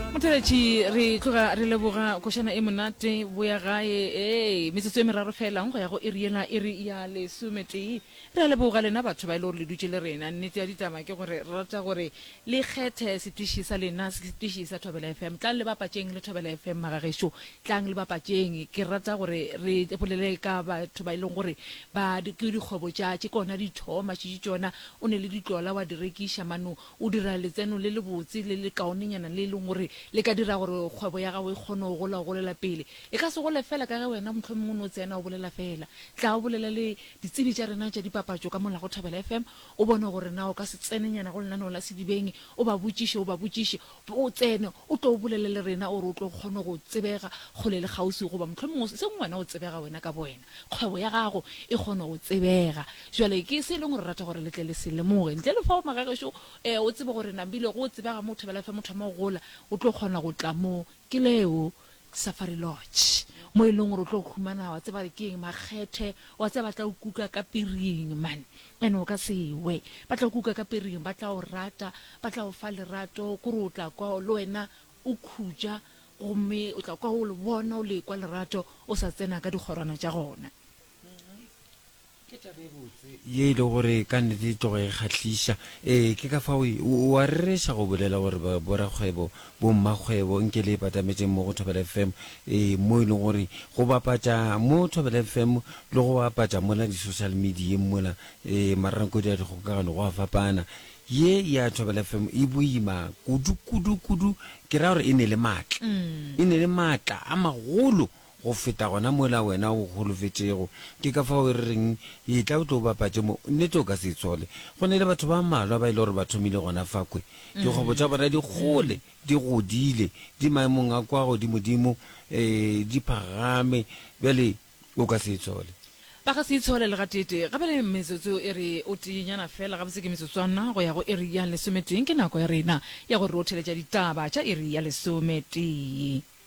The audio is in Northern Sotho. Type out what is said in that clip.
Motheletši re tloga re leboga košana e monate boya gae ee metsotso e meraro felang go ya go iri yela iri ya lesometee re a leboga lena batho ba e le gore le dutše le rena nnete ya ditaba ke gore re rata gore le kgethe setiši sa lena setiši sa Thobela FM tlang le bapatšeng le Thobela FM magagešo tlang le bapatšeng ke rata gore re bolele ka batho ba e leng gore ba ke dikgwebo tša tše kona di thoma šetše tšona o ne le ditlola wa di rekiša mano O dira letseno le lebotse le lekaonenyana le e leng gore le ka dira gore kgwebo ya gago e kgone go gola go golela pele. E ka se gole feela ka ge wena mohlomongwe o no tsena o bolela feela. Tla o bolele le ditsebi tša rena tša dipapatšo ka mola go Thobela FM o bone gore na o ka se tsenenyana go lenaneo la Sedibeng o ba botšiše o ba botšiše o tsene o tlo o bolele le rena gore o tlo kgone go tsebega kgole le kgauswi goba mohlomongwe seng wena o tsebega wena ka bowena. Kgwebo ya gago e kgone go tsebega. Jwale ke se e leng gore rata gore le tle le se lemoge. Ntle le fao magagešo, eh, o tsebe gore nambile go tsebega mo Thobela FM o thoma go gola, o tlo kgona go tla mo. Ke leo Safari Lodge, mo e leng gore o tlo humana, wa tseba ke eng, makgethe, wa tseba ba tla o kuka ka piring, man. And o ka se we. Ba tla o kuka ka piring, ba tla o rata, ba tla o fa lerato, kore o tla kwa le wena o khutša, gomme o tla kwa o le bona, o le kwa lerato, o sa tsena ka dikgorwana tša gona. Ke taba e botse ye e le gore ka nnete e tloga e kgahliša. Ee, ke ka fao o a rereša go bolela gore borakgwebo, bommakgwebo nke le patametšeng mo go Thobela FM, ee, mo e leng gore go bapatša mo Thobela FM le go bapatša mola di-social medieng mola, ee, marangkodi a dikgokagano go a fapana. Ye ya Thobela FM e boima kudu, kudu, kudu, ke ra gore e ne le maatla, e ne le maatla a magolo go feta gona mola wena o holofetšego. Ke ka fao re reng, Etla o tlo bapatše mo. Nnete o ka se itshole. Go ne le batho ba mmalwa ba e le gore ba thomile gona fakhwe. Dikgwebo tša bona di gole, di godile, di maemong a kwa godimodimo, ee, di phagame. Bjale o ka se itshole. Ba ka se itshole le gateetee. Gape le metsotso e re o teenyana feela, gabotse ke metsotswana go ya go iri ya lesometee. Ke nako ya rena ya gore re o theletša ditaba tša iri ya lesometee.